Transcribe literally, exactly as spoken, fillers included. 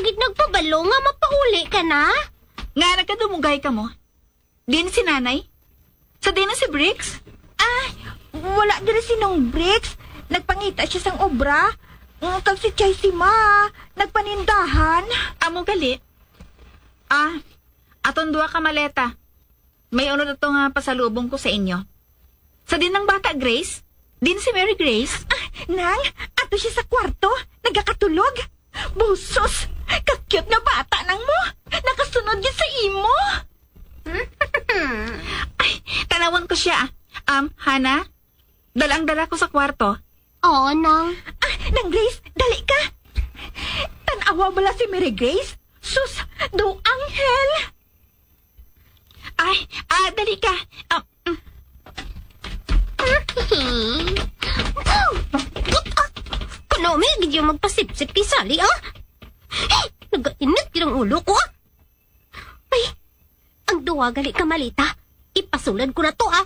gid nagpabalo nga mapauli ka na? Nga nagkadumugay ka mo? Din si nanay? Sa din na si Briggs? Ah, wala diri si Nong Briggs. Nagpangita siya sang obra. Mm, kag si Chay si Ma, nagpanindahan. Amo gali. Ah, aton duha ka maleta. May unod ato nga pasalubong ko sa inyo. Sa din ang bata, Grace? Din si Mary Grace? Ah, Nang, ato siya sa kwarto. Nagakatulog. Busos! Ka-cute nga bata nang mo! Nakasunod gid sa imo! Ay, tanawon ko siya. Um, Hana, dala ang dala ko sa kwarto. Oo, Nang. Ah, Nang Grace, dali ka! Tanawa bala si Mary Grace? Sus, do anghel! Ay, ah, dali ka. Ah, mm. Kanami gid yung magpasipsip kay Sally, ah? Eh, nagainit gid ang ulo ko, ah. Ay, ang duwa gali ka malita. Ipasulod ko na to, ah.